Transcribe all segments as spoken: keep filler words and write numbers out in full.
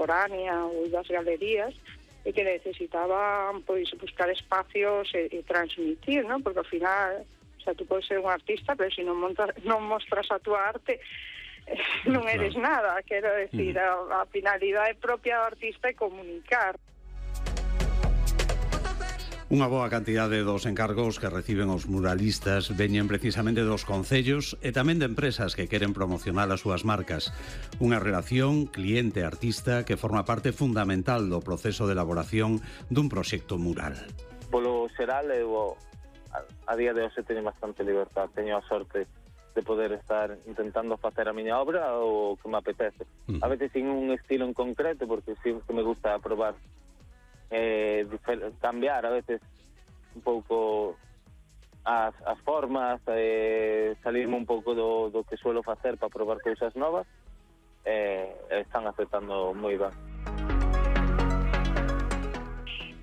contemporánea ou das galerías, e que necesitaban pois buscar espacios e, e transmitir, ¿no? Porque ao final, o sea, tú podes ser un artista, pero se non, montas, non mostras a túa arte, eh, non eres claro. nada. Quero decir, uh-huh. a, a finalidade propia do artista é comunicar. Unha boa cantidade dos encargos que reciben os muralistas veñen precisamente dos concellos e tamén de empresas que queren promocionar as súas marcas. Unha relación cliente-artista que forma parte fundamental do proceso de elaboración dun proxecto mural. Polo xeral, eu a, a día de hoxe teño bastante libertad. Teño a sorte de poder estar intentando facer a miña obra o que me apetece. Mm. A veces sin un estilo en concreto, porque sí que me gusta probar Eh, cambiar a veces un pouco as, as formas, eh, salirme un pouco do, do que suelo facer para probar cousas novas, eh, están aceptando moi ben.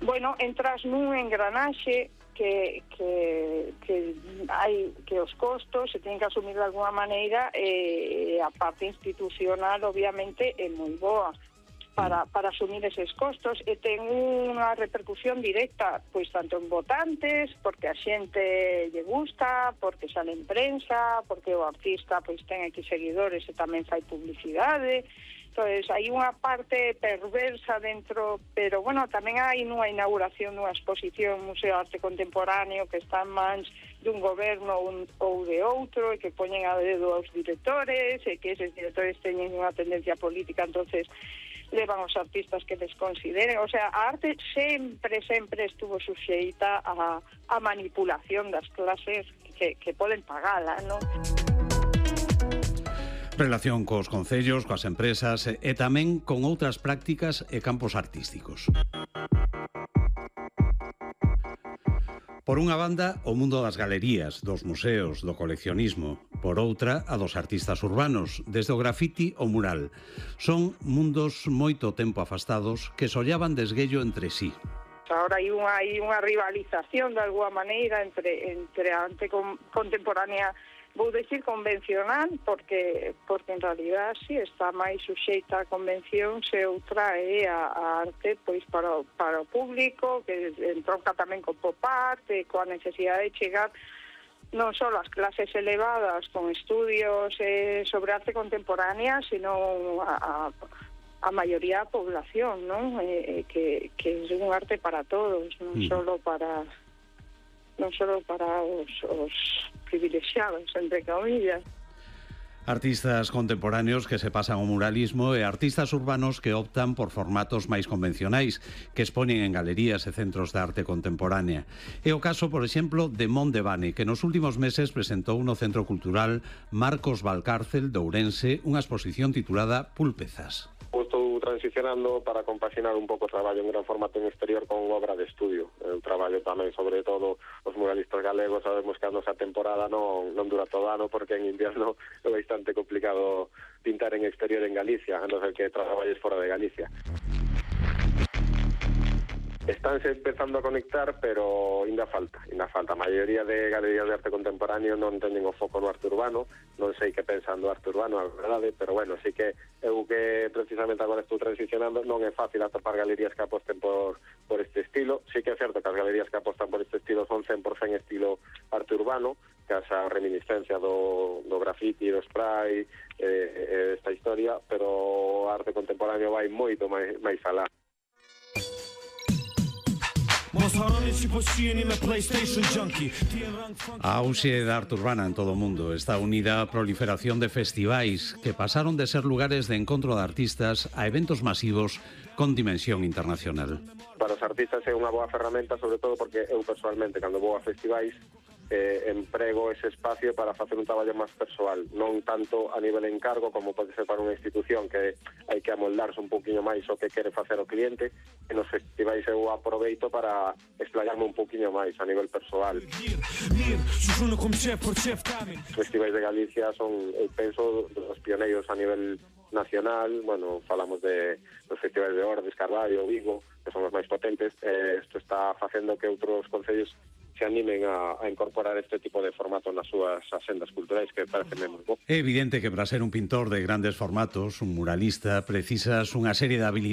Bueno, entras nun engranaxe que, que, que hai que os costos se teñen que asumir de alguna maneira, e eh, a parte institucional obviamente é moi boa para, para asumir eses costos, e ten unha repercusión directa, pois tanto en votantes, porque a xente lle gusta, porque sale en prensa, porque o artista pois ten X seguidores e tamén fai publicidade. Entonces, hai unha parte perversa dentro, pero, bueno, tamén hai nunha inauguración dunha exposición Museo de Arte Contemporáneo que está en mans dun goberno un, ou de outro, e que poñen a dedo aos directores, e que eses directores teñen unha tendencia política, entonces levan os artistas que les consideren. O sea, a arte sempre, sempre estuvo suxeita a, a manipulación das clases que, que poden pagala, non? Relación cos concellos, coas empresas e tamén con outras prácticas e campos artísticos. Por unha banda, o mundo das galerías, dos museos, do coleccionismo. Por outra, a dos artistas urbanos, desde o grafiti ao mural. Son mundos moito tempo afastados que sollaban desguello entre sí. Ahora hai unha, hai unha rivalización de alguma maneira entre, entre a arte con, contemporánea, vou decir convencional, porque porque en realidad sí está máis suxeita a convención, se outra é a, a arte pois para, para o público, que entronca tamén con pop art, e coa necesidade de chegar non só as clases elevadas con estudios eh, sobre arte contemporánea, sino a, a, a maioría da población, non? Eh, que, que é un arte para todos, non mm. só para non só para os, os privilexiados, entre comillas. Artistas contemporáneos que se pasan ao muralismo e artistas urbanos que optan por formatos máis convencionais, que exponen en galerías e centros de arte contemporánea. É o caso, por exemplo, de Mondevane, que nos últimos meses presentou no Centro Cultural Marcos Valcárcel de Ourense unha exposición titulada Púlpezas. Estou transicionando para compaxinar un pouco o traballo en gran formato en exterior con obra de estudio. Eu traballo tamén, sobre todo, os muralistas galegos, sabemos que a nosa temporada non, non dura todo ano, porque en invierno é bastante complicado pintar en exterior en Galicia, a non ser que traballes fora de Galicia. Estánse empezando a conectar, pero ainda falta, ainda falta. A maioría de galerías de arte contemporáneo non teñen o foco no arte urbano, non sei que pensan do arte urbano, a verdade, pero bueno, sí que eu que precisamente agora estou transicionando, non é fácil atopar galerías que aposten por, por este estilo. Sí que é certo que as galerías que apostan por este estilo son cen por cento estilo arte urbano, que esa reminiscencia do, do grafiti, do spray, eh, esta historia, pero o arte contemporáneo vai moito máis, máis alá. A auxe da arte urbana en todo o mundo está unida á proliferación de festivais que pasaron de ser lugares de encontro de artistas a eventos masivos con dimensión internacional. Para os artistas é unha boa ferramenta, sobre todo porque eu personalmente, cando vou a festivais, eh, emprego ese espacio para facer un traballo máis persoal, non tanto a nivel encargo como pode ser para unha institución que hai que amoldarse un poquinho máis o que quere facer o cliente, e nos festivais eu aproveito para explayarme un poquinho máis a nivel persoal. Os festivais de Galicia son, eu penso, dos pioneiros a nivel nacional. Bueno, falamos de dos festivais de Ordes, Carballo, Vigo, que son os máis potentes. Eh, isto está facendo que outros concellos se animen a, a incorporar este tipo de formato nas súas asendas culturais, que parece moi bo. É evidente que para ser un pintor de grandes formatos, un muralista, precisas unha serie de habilidades